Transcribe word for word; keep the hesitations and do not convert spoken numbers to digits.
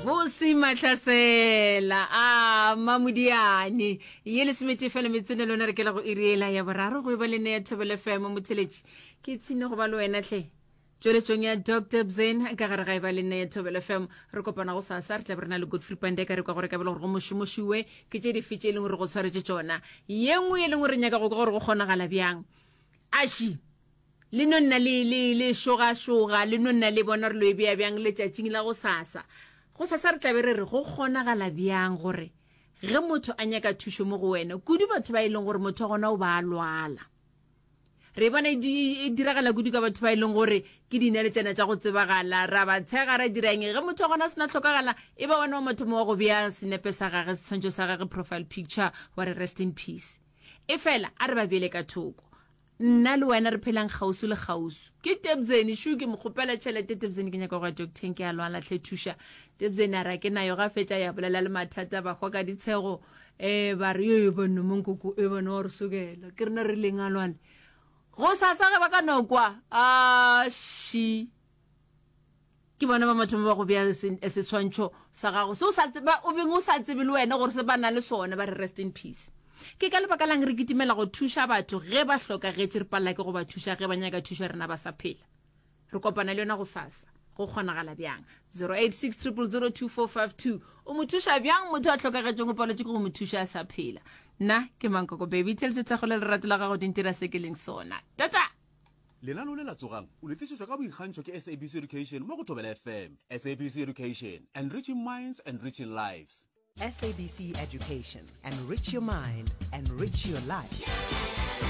Vusi Mahlasela a Mamodiane ye lesomete fela metsone lona re kela go iriela ya boraro go e ba le nne ya Thobela F M. Motheletši, ke ipshine go ba le wena tlhe tšweletšong ya Doctor Bzen ka gare ga e ba le nne ya Thobela F M. Re kopana go sasa, re tla be re na le Godfrey Pandeka. Re kwa gore ka bele gore go mošomošiwe ke tše dife tše e leng gore go tshwaretše tšona. Ye nngwe e leng gore nyaka go kwa gore go kgonagala bjang aši le no nna le le le šogašoga, le no nna le bona re lo e bea bjang letšatšing la go sasa. Go sasa re tlabe re re go kgonagala bjang gore ge motho a nyaka thušo mo go wena, kudu batho ba e leng gore motho wa gona o ba a lwala. Re bona e di- e diragala kudu ka batho ba e leng gore ke dinaletšana tša go tsebagala, ra ba tshega, ra dira eng. Ge motho wa gona a sena tlhokagala, e ba wena wa mathomo wa go bea senepe sa gage, setshwantšho sa gage, profile picture, wa re rest in peace. E fela a re ba beele ka thoko, nna le wena re phelang kgauswi le kgauswi. Ke Tebzene shu, ke mo kgopela tšhelete. Tebzene, ke nyaka go ya docteng, ke a lwala tlhe, thuša. Tebzene a re ke nayo. Ga fetša ya bolela le mathata, ba hwa ka ditshego, um ba re ee banna mankoko e bana wa re sokela ke rena re leng a lwale. Go sasa ge ba ka no kwa aši, ke bona ba mathomo ba go bea se- setshwantšho sa gago se o sa tseba, o beng o sa tsebe le wena gore se ba na le sona, ba re rest in peace. Ke ka lebaka lang re kitimela go thuša batho ge ba hlokagetše, re palela ke go ba thuša ge ba nyaka thušo rena ba sa phela? Re kopana le yona go sasa, go kgonagala bjang? zero eight six zero zero zero two four five two. O mo thuša bjang motho a hlokagetšeng, o paletše ke go mo thuša a sa phela? Nna ke Mankoko Baby Tšhelete. Thekgo le lerato la gago di ntira se ke leng sona. Tata. Lenaneo le la Tsogang o le tlišetšwa ka boikgantšho ke S A B C Education mo go Thobela F M. S A B C Education, enriching minds, enriching lives. S A B C Education. Enrich your mind, enrich your life.